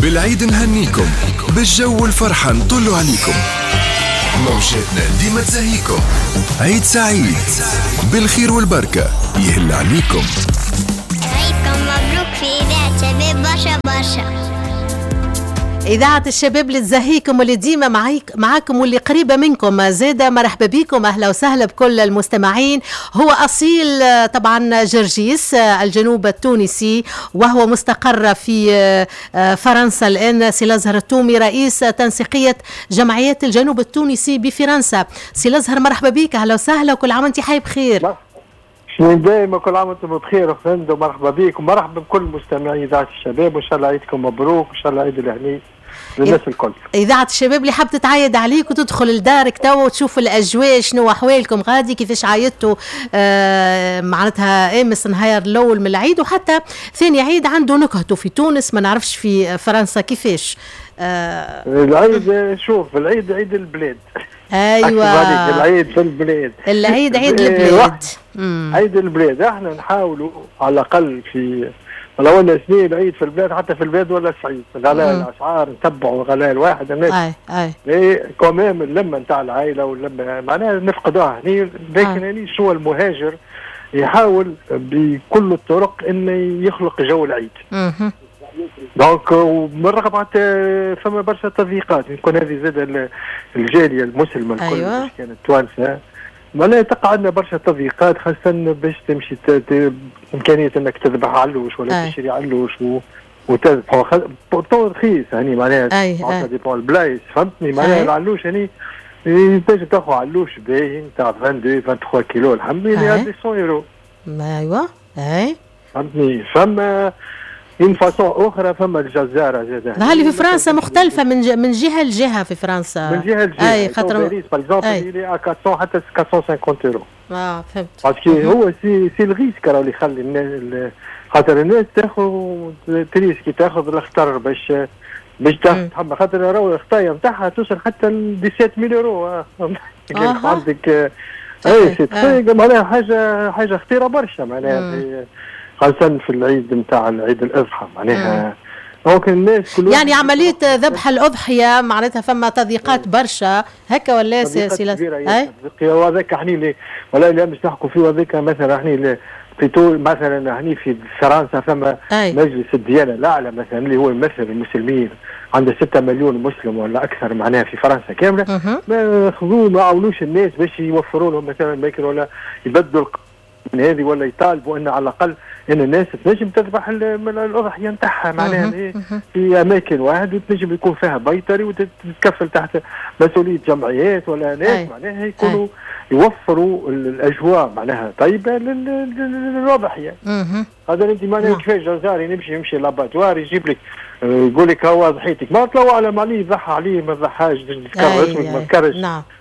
بالعيد نهنيكم، بالجو والفرحة نطلوا عليكم، موجاتنا ديما تزهيكم. عيد سعيد بالخير والبركة يهل عليكم. عيدكم مبروك في إذاعة شباب برشا برشا. إذاعة الشباب اللي تزهيكم واللي ديما معاكم واللي قريبة منكم زادة. مرحبا بكم، أهلا وسهلا بكل المستمعين. هو أصيل طبعا جرجيس الجنوب التونسي، وهو مستقر في فرنسا الآن. سي الأزهر التومي رئيس تنسيقية جمعيات الجنوب التونسي بفرنسا. سي الأزهر مرحبا بك، أهلا وسهلا، وكل عام وأنت حي بخير. دائما كل عام وانتم بخير وفند، ومرحبا بك ومرحبا بكل مستمعي إذاعة الشباب، وإن شاء الله عيدكم مبروك، وإن شاء الله عيد الهني للناس الكل. إذاعة الشباب اللي حابة تتعايد عليك وتدخل لدارك توا وتشوف الأجواء، شنو أحوالكم غادي، كيفاش عايدتوا معناتها أمس نهار الأول من العيد، وحتى ثاني عيد عنده نكهته في تونس، ما نعرفش في فرنسا كيفاش. العيد، شوف العيد عيد البلاد. ايوه، العيد في البلاد، العيد عيد البلاد، عيد البلاد. احنا نحاولوا على الاقل في ولو ان سنين العيد في البلاد، حتى في البلاد ولا صعيب غلاء الاسعار، نتبعوا غلاء الواحد الناس. اي اي quand même اللمة نتاع العائلة واللمه معناها نفقدوها هني، لكن هني شو المهاجر يحاول بكل الطرق انه يخلق جو العيد. donc ومن رغم فما برشا تضييقات، يكون هذه زاد الجالية المسلمة الكل. أيوة. كانت توانسة معناها تقع عندنا برشا تضييقات، خاصة باش تمشي امكانية انك تذبح علوش ولا تشري علوش وتذبحه pourtant رخيص يعني معناها dépend البلايص، فهمتني معناها. العلوش يعني تنجم تاخذ علوش باهي نتاع 22 23 كيلو الحمد لله 200 يورو. ايوا اي فهمتني. فما une façon اخرى، فما الجزاره زاد اللي في فرنسا مختلفة من جهة لجهة في فرنسا، من جهة لجهة. اي خاطر باريس par exemple il est à 400 حتى 450 يورو. فهمت. parce que هو c'est le risque راه اللي يخلي الناس، خاطر الناس تاخذ ت risquer، تاخذ الخطر باش تاخذ، خاطر راهو الخطايا نتاعها توصل حتى ل 17000 يورو. عندك اي c'est معناها حاجة خطيرة برشا معناها، خاصة في العيد نتاع العيد الأضحى معناها. donc الناس كل يعني عملية ذبح الأضحية معناتها فما تضييقات برشا هكا ولا سي؟ وهذاك احنا ولا لا مش نحكوا فيه، وهذاك مثلا احنا في مثلا هني في فرنسا فما مجلس الديانة الأعلى مثلا اللي هو يمثل المسلمين، عنده 6 مليون مسلم ولا أكثر معناها في فرنسا كاملة. ما خذوا ما عاونوش الناس باش يوفروا لهم مثلا ماكل ولا يبدلوا من هذه، ولا يطالبوا ان على الاقل ان الناس تنجم تذبح الاضحية نتاعها معناها في اماكن واحد، وتنجم يكون فيها بيطري وتتكفل تحت مسؤولية جمعيات ولا ناس معناها يكونوا يوفروا الاجواء معناها طيبة للاضحيه. هذا انت معناها كيفاش جزاري يمشي l'abattoir يجيب لك يقول لك هو ضحيتك، ما طلعوا على عليه ضحى عليه ما ضحاش، تذكر اسمك ما تذكرش.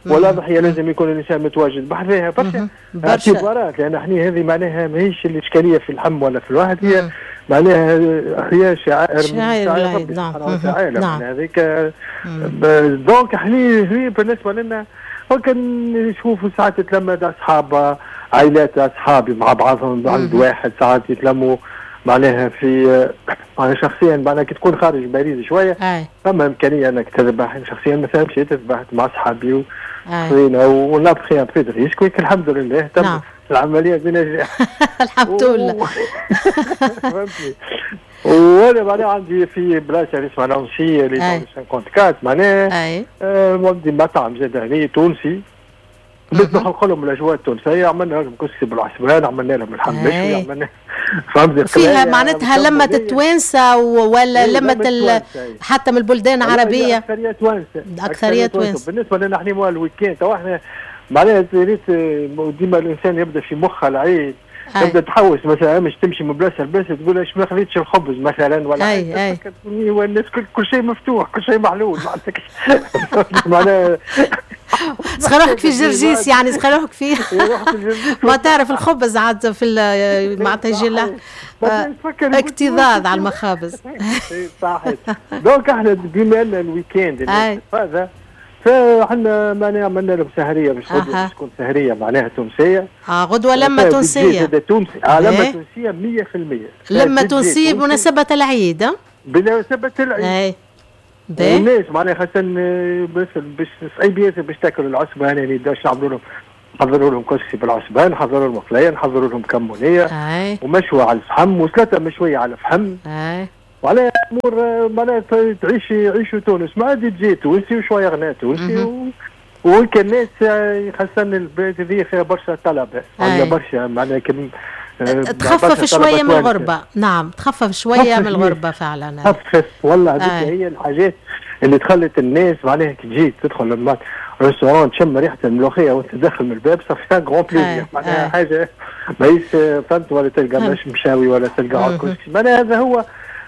ولا ضحية لازم يكون الانسان متواجد بحذاها برشا اعتبارات، لان احنا هذه معناها ماهيش الاشكالية في اللحم ولا في الواحد، هي معناها هي شعائر من ربي سبحانه وتعالى. نعم. هذيك donc احنا بالنسبة لنا ممكن نشوفوا ساعات تتلمد اصحاب عائلات اصحابي مع بعضهم عند واحد، ساعات يتلموا معناها في انا شخصيا معناها كي تكون خارج باريس شوية فما امكانية انك تذبح. شخصيا مثلا مشيت ذبحت مع اصحابي وخذينا on a pris un peu de risque، الحمد لله تم العملية بنجاح. الحمد لله. فهمتني. وانا معناها عندي في بلاصة اللي اسمها لانسي اللي 54 معناها عندي مطعم زاد هنا تونسي، باش نخلق لهم الاجواء التونسية، عملنا لهم كسكسي بالعسبان، عملنا لهم اللحم مشوي، عملنا فهمت فيها معناتها لمة التوانسة ولا لمة حتى من البلدان العربية؟ اكثرية توانسة، اكثرية توانسة. بالنسبة لنا احنا ال week-end تو احنا معناها ريت ديما الانسان يبدا في مخه العيد، تبدا تحوس مثلا مش تمشي من بلاصة لبلاصه تقول اش ما خذيتش الخبز مثلا ولا اي والناس كل شيء مفتوح، كل شيء محلول معناها سخي روحك في جرجيس يعني، سخي روحك في ما تعرف الخبز عاد في معناتها يجي اكتظاظ على المخابز. صحيح. donc احنا بما ان ال week-end هذا فاحنا معناها عملنا لهم سهريه باش غدوه باش تكون سهريه معناها تونسية. غدوه لمه تونسية. تونسي لمه تونسية 100%. لمه تونسية بمناسبة العيد. بمناسبة العيد. اي والناس معناها خاصة باش صعيب ياسر باش تاكل العصبان، يعني باش نعملوا لهم، نحضروا لهم كسكسي بالعصبان، نحضروا لهم مقلية، نحضروا لهم كمونيه ومشوى على الفحم وسلطة مشوية على الفحم. وعلى امور معناها تعيش يعيشوا تونس، ما عاد تجي تونسي وشوية غناء تونسي وكان الناس خاصة البلاد هذه فيها برشا طلبه، عندنا برشا معناها تخفف شوية من الغربة. نعم تخفف شوية من الغربة فعلا. تخفف والله، هذيك هي الحاجات اللي تخلت الناس معناها كي تجي تدخل restaurant تشم ريحه الملوخية وانت داخل من الباب، ça fait un grand plaisir، معناها حاجة ماهيش فهمت، ولا تلقى مش مشاوي ولا تلقى كسكسي، معناها هذا هو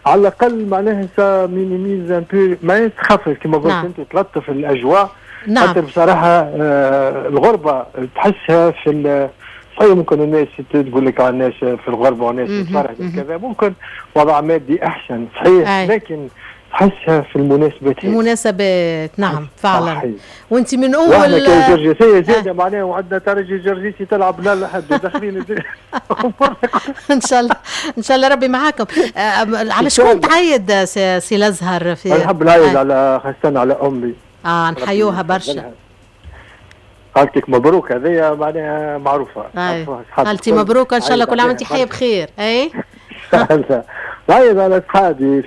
على الاقل معناها ça minimise un peu، معناها تخفف كما قلت انت، تلطف الاجواء. خاطر بصراحة الغربة تحسها في صحيح، ممكن الناس تقول لك على الناس في الغربة والناس تفرح كذا، ممكن وضع مادي احسن صحيح، لكن تحسها في المناسبات. المناسبات نعم فعلا. وانت من اول واحنا كجرجسيه زاده معناها، وعندنا ترجي جرجيسي تلعب لا لحد وداخلين. ان شاء الله ان شاء الله ربي معاكم. على شكون تعيد سي الازهر؟ في نحب نعيد على خاصة على امي. نحيوها برشا. خالتك مبروك، هذه معناها معروفة. خالتي مبروك، ان شاء الله كل عام وانت حيه بخير. اي نعيد على اصحابي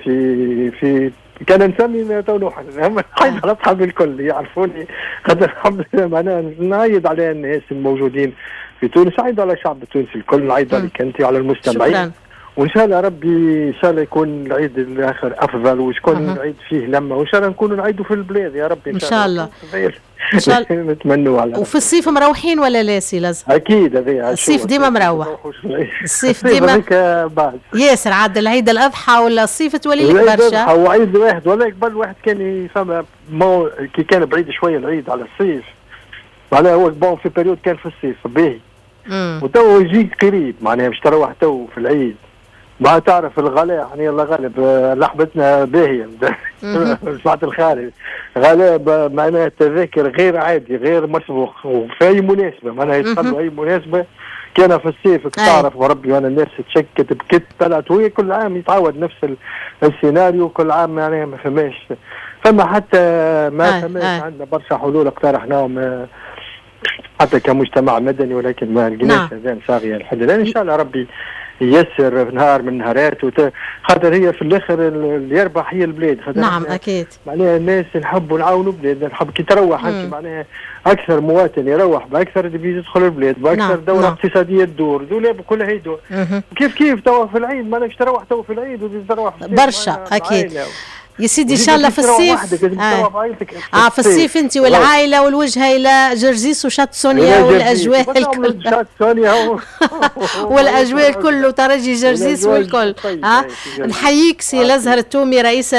في كان نسمي تو نوحل، نعيد على اصحابي الكل يعرفوني، خاطر الحمد لله معناها نعيد على الناس الموجودين في تونس، نعيد على الشعب التونسي الكل، نعيد عليك انت وعلى المستمعين. وان شاء الله ربي ان شاء الله يكون العيد الاخر افضل، ويكون العيد فيه لمه، وان شاء الله نكونوا نعيدوا في البلاد يا ربي ان شاء الله. ان شاء الله نتمنوا على. وفي الصيف مروحين ولا لا سي لازم؟ اكيد هذه الصيف ديما مروح. الصيف ديما ياسر عاد العيد الاضحى ولا الصيف تولي لك برشا. العيد الاضحى وعيد واحد، ولا قبل واحد كان فما كي كان بعيد شوية العيد على الصيف، معناها هو bon في période كان في الصيف باهي، وتو يجيك قريب معناها باش تروح تو في العيد، ما تعرف الغلاء يعني الله غالب، لحمتنا باهيه سمعت الخارج غلاء معناها التذاكر غير عادي غير مسبوق، وفي اي مناسبة معناها يدخلوا اي مناسبة. كان في الصيف تعرف وربي وانا الناس تشكت بكت طلعت، وهي كل عام يتعود نفس السيناريو كل عام، معناها ما فماش فما حتى ما فماش عندنا برشا حلول اقترحناهم حتى كمجتمع مدني، ولكن ما لقيناش اذان صاغيه لحد الان. ان شاء الله ربي ييسر في نهار من النهارات، خاطر هي في الاخر اللي يربح هي البلاد. نعم اكيد، معناها الناس نحبوا نعاونوا بلادنا، نحب كي تروح انت معناها اكثر مواطن يروح باكثر devise يدخل البلاد، باكثر دوره اقتصادية تدور، دولاب كلها يدور. كيف كيف توا في العيد مالكش تروح تو في العيد وتروح برشا اكيد يا سيدي. ان شاء الله في الصيف في الصيف انت والعائلة والوجهه الى جرجيس وشط سونيا والاجواء الكل، شط سونيا والاجواء الكل وترجي جرجيس والكل. نحييك سي الازهر التومي رئيس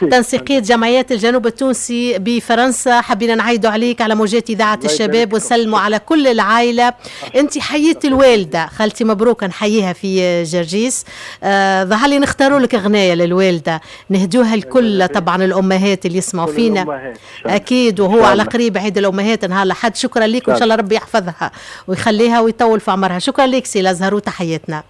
تنسيقيه جمعيات الجنوب التونسي بفرنسا، حبينا نعيدوا عليك على موجات اذاعة الشباب ونسلموا على كل العائلة. انت حييت الوالدة خالتي مبروك، نحييها في جرجيس. ظهر لي نختاروا لك غنايه للوالده نهدوها كل طبعا الامهات اللي يسمعوا فينا اكيد، وهو على قريب عيد الامهات نهار الاحد. شكرا لك وان شاء الله ربي يحفظها ويخليها ويطول في عمرها. شكرا لك سي الازهر وتحياتنا.